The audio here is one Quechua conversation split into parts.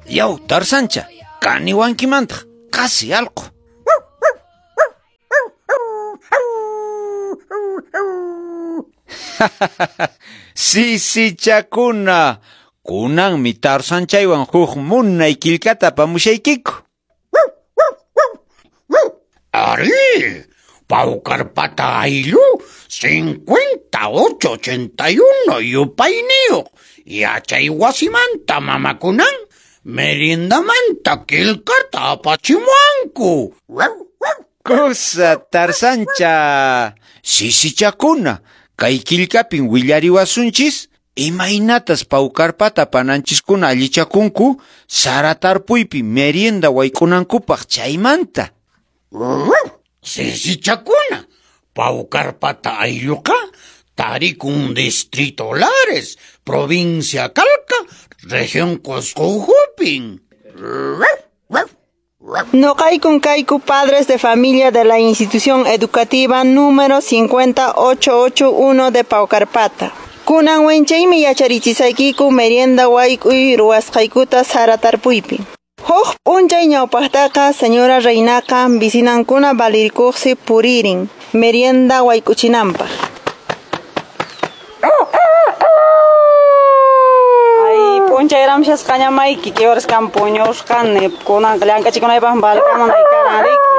Yaw, Tarzancha, kaniwankimantaq, qasi allqu. Sisichakuna, kunanmi Tarzanchaywan huk munay killkata apamushaykiku. Ari, Paucarpata ayllu 5881 yupayniyuq yachay wasimanta mamakunan meriendamanta killkata apachimuwanku. Kusa Tarzancha, sisichakuna, kay killkapin willariwasunchis imaynatas Paucarpata pananchiskuna allichakunku sara tarpuypi merienda wayk'unankupaq chaymanta. Sisichakuna, Paucarpata aylluqa tarikun distrito Lares, provincia Calca, región Cusco ukhupin. Noqaykun kayku padres de familia de la institución educativa número 5881 de Paucarpata. Kunan wenchaymi yacharichisaykiku merienda wayk'uy ruwasqaykuta sara tarpuypi. Huk p'unchay ñawpaqtaqa señora Reinaqa visinankuna balirikuqsi puririn merienda wayk'uchinanpaq. Ay, p'unchayramshasqaña mayki kiwaraskan puñusqani kunanqa llank'achikunaypaq balkamunay karan riki.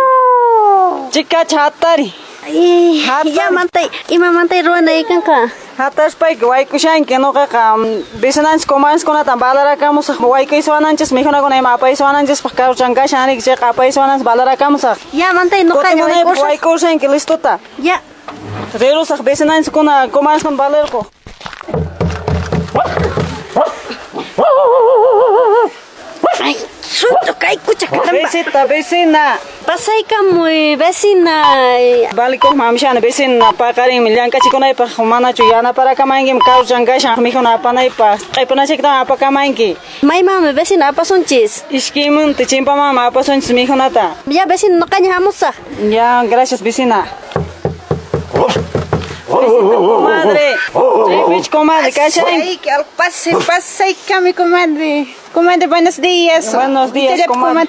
Chikacha hatari. Ya mantay, imamantay ruwanaykanqa. Hataspayki wayk'ushanki nuqaqa vicinanchis comadreskunatan balarakamusaq wayk'uysuwananchis mikhunakuna ima apaysuwananchispaq karuchan kashan riki chayqa apaysuwananchis balarakamusaq. Ya mantay nuqaña wayk'usaq. Wayk'ushanki listota. Ya. Rirusaq vicinanchiskuna comadreskuna balarqu. Ay, sunto kaykucha caramba. Visita, vecina. Pasaykamuy, vecina. Balikuq mamishani vecina paqarinmi llank'achikunaypaq manachu yanaparakamankim karuchan kashan mikhuna apanaypaq q'ipunachiktawan apakamanki. Maymanmi vecina apasunchis. Ishkaymunta chimpamanmi apasunchis mikhunata. Ya vecina nuqaña hamusaq. Ya, gracias vecina. Comadre, chaypichu comadre kashan. Pase, pasaykami comadre. Comadre, buenos días. Buenos días, comadre.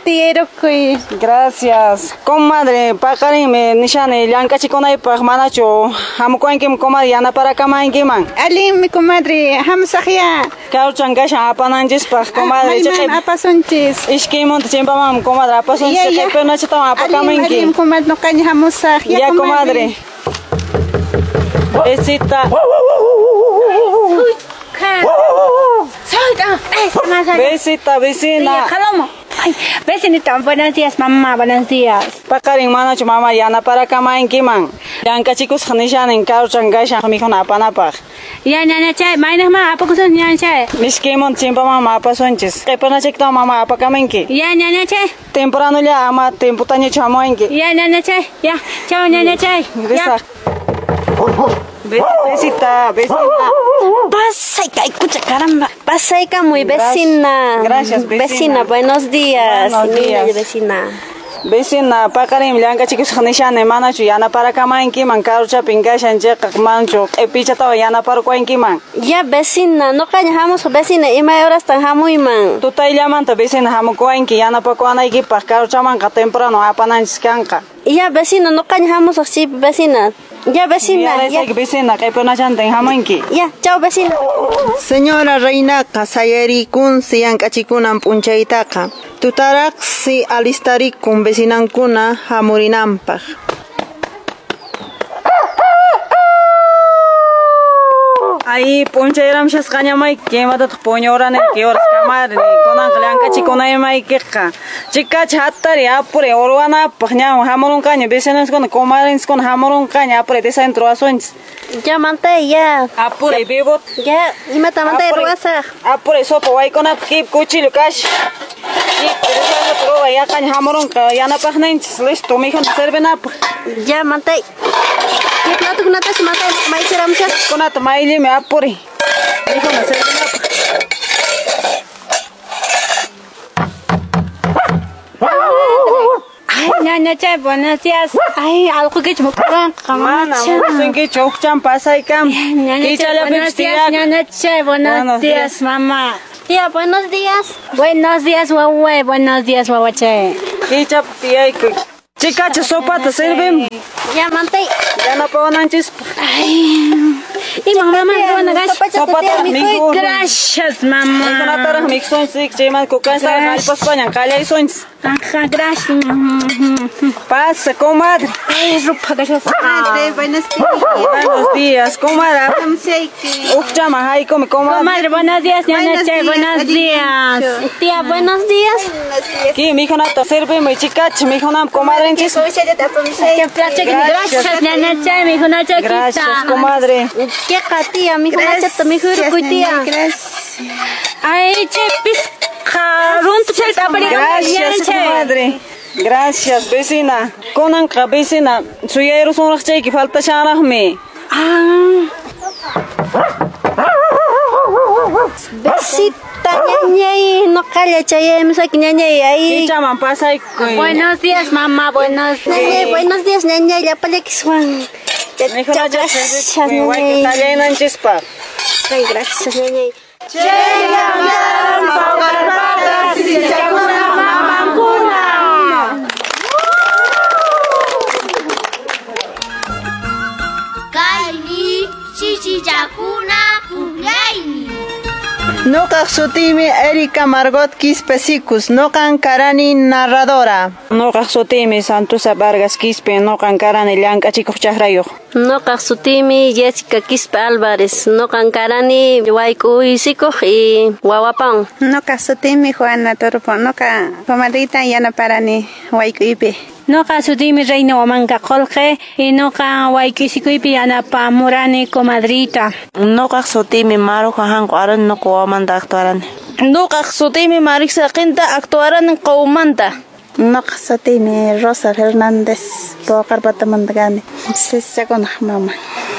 Gracias. Comadre, paqarinmi nishani llank'achikunaypaq manachu hamukuwankiman comadre yanaparakamankiman. Allinmi comadre, hamusaq ya. Karuchan kashan apananchispaq comadre. Mayman apasunchis. Ishkaymunta chimpamanmi comadre apasunchis. Q'ipunachitawan apakamanki. Allinmi comadre, nuqaña hamusaq. Ya comadre. Besita. Besita, vecina. Ay, vecinita, buenos días, mamá, buenos días. Paqarin manachu mamá yanaparakamankiman. Llank'achikusaq nishanin karuchan kashan mikhuna apanapaq. Ya, ñañachay, maynaqman apakusun ñañachay. Mishkiymunta chimpamanmi apasunchis. Q'ipunachiktawan mamá apakamanki. Ya, ñañachay. Tempranolla ama tiemputañachu hamuwanki. Ya, ñañachay, ya. Chao, ñañachay. Risaq. Besita, vecina. Pasay kaykucha caramba. Pasaykamuy vecina. Gracias, vecina. Vecina, buenos días. Buenos días. Vecina. Vecina, paqarinmi llank'achikusaq nishani manachu yanaparakamankiman karuchapin kashan chayqa manachu q'ipichatawan yanaparkuwankiman. Ya vecina, nuqaña hamusaq vecina, imay horastan hamuyman. Tutayllamanta vecina hamukuwanki yanapakuwanaykipaq karuchamanqa temprano apananchis kanqa. Ya vecina, nuqaña hamusaq chaypi vecina. Ya vecina, ya. Vecina, q'ipunachantin hamunki. Ya, chao vecina. Señora Reinaqa sayarikunsi llank'achikunan p'unchaytaqa. Tutaraqsi alistarikun vecinankuna hamurinanpaq. Ay, p'unchayramshasqaña mayki imatataq puñuranayki horas kamarni kunanqa llank'achikunaymaykiqa. Chikacha hatari apuri urwanapaq ñawan hamurunqaña vecinanchiskuna comadrenchiskuna hamurunqaña apuri desayuno ruwasunchis. Ya mantay ya. Apuri bibot. Ya, imata mantay ruwasaq. Apuri sopa waykunapaq kip cuchillo kash. Kip desayuno ruwa yaqaña hamurunqa yanapaqninchis listo mikhuna servinapaq. Ya mantay. Platukunatash mantay maychiramshaq. Kunata mayllimi apuri. Mikhuna servinapaq. Ay, ñañachay, buenos días. Ay, allqukichu mukuranqa Mana, mukusunkichu hukchan pasaykam. Ñañachay, buenos días, ñañachay, buenos días, mamá. Tía, buenos días. Buenos días, wawa. Buenos días, wawache. Kichap tiyayku. Chikacha sopata sirvim. Ya, mantay. Yanapawananchis. Ay. Ima mamá, buena Sopata mikhu. Gracias, mamá. Mikunataraq miksunchik, chayman kukansa hallpaspañan qallaysunchis. Ajá, gracias. Pasa, comadre. Ay, rupa, gracias. Comadre, buenos días. Buenos días, comadre. Uqchama haykumi, comadre. Comadre, buenos días, ñañache, buenos días. Tía, buenos días. Ki mikhunata sirvimuy chikacha, mikhunam comadrenchis. Gracias, ñañache, mikhunachakita. Gracias, comadre. ¿Qué tía? Mikhunachata mikhurkuy, tía. Gracias. Ay, che, pisqa runtu chayta Gracias, comadre. Gracias, vecina. Kunanqa vecina, suyayrusunraqchayki faltashanraqmi. Ah. Besita, ñañay, noqalla chayaymusaki, ñañay, ahí. Kichaman pasaykuy. Buenos días, mamá, buenos días. Ñañay, buenos días, ñañay, llapallakiswan. Gracias, ñañay. Tallaynanchispa. Ay, gracias, ñañay. Chayam Paucarpata sisichakuna mamankuna. Kaymi sisichakuna pukllaymi. Nuqaq sutiymi Erika Margot Quispe Sicus, nuqan karani narradora. Nuqaq sutiymi Santusa Vargas Quispe, nuqan karani llank'achikuq chakrayuq. Nuqaq sutiymi Jessica Quispe Álvarez, nuqan karani wayk'uysikuq y wawapan. Nuqaq sutiymi Juana Torpo, nuqa comadrita yanaparani wayk'uypi. Nuqa sutiymi Reina Huamanca Qolqe y nuqa wayk'uysikuypi yanapamurani comadrita. Nuqaq sutiymi Maru Jajanqu arani nuqa wawamanta actuarani. Nuqaq sutiymi Marisa Qinta actuarani qawmanta. Nuqa sutiymi Rosa Fernández Paucarpatamanta kani. Sisichakunaq mama.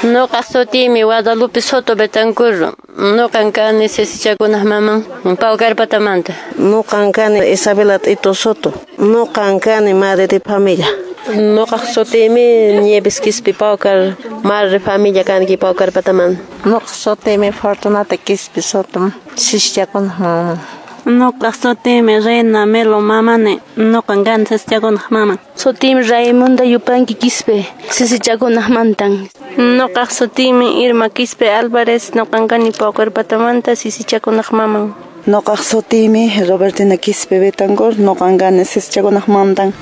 Nuqa sutiymi Guadalupe Soto Betancur. Nuqan kani sisichakunaq maman Paucarpatamanta. Nuqan kani Isabela Tito Soto. Nuqan kani madre de familia. Nuqaq sutiymi Nieves Quispe Paucar, madre familia kanki Paucarpatamanta. Nuqa sutiymi Fortunata Quispe Soto, sisichakunaq maman. Nuqaq sutiymi Reina Melo mamani, nuqan kani sisichakunaq maman. Sutiymi Raimunda Yupanqui Quispe, sisichakunaq mantan. Nuqaq sutiymi Irma Quispe Álvarez, nuqan kani Paucarpatamanta sisichakunaq maman. Nuqaq sutiymi Robertina Quispe Betancur, nuqan kani sisichakunaq mantan.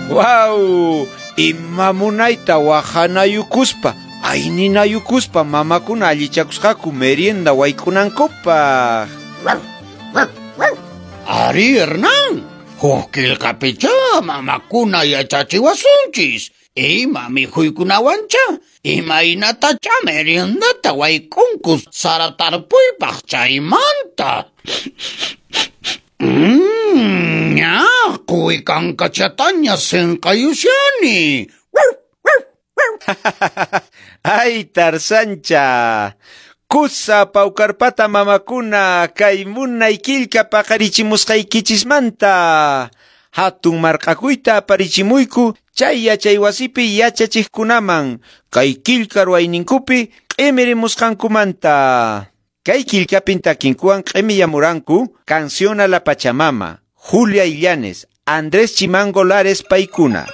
¡Guau! Ima munayta wahanayukuspa, ayninayukuspa mamakuna allichakusqaku merienda wayk'unankupaq. Ari, Hernán, huk qillqapicha mamakuna yachachiwasunchis. Ima mikhuykunawancha, imaynatacha meriendata wayk'unku sara tarpuypaq chaymanta. Ña, quwi kankachataña sinqayushani. Ay, Tarzancha. Kusa Paucarpata mamakuna kay munay killka paqarichimusqaykichismanta. Hatun marq'akuyta aparichimuyku chay yachaywasipi yachachiqkunaman kay killka ruwayninkupi q'imirimusqankumanta. Kay killkapin takinkuwan q'imiyamuranku Canción a la Pachamama, Julia Illanes, Andrés Chimango Lares paykuna.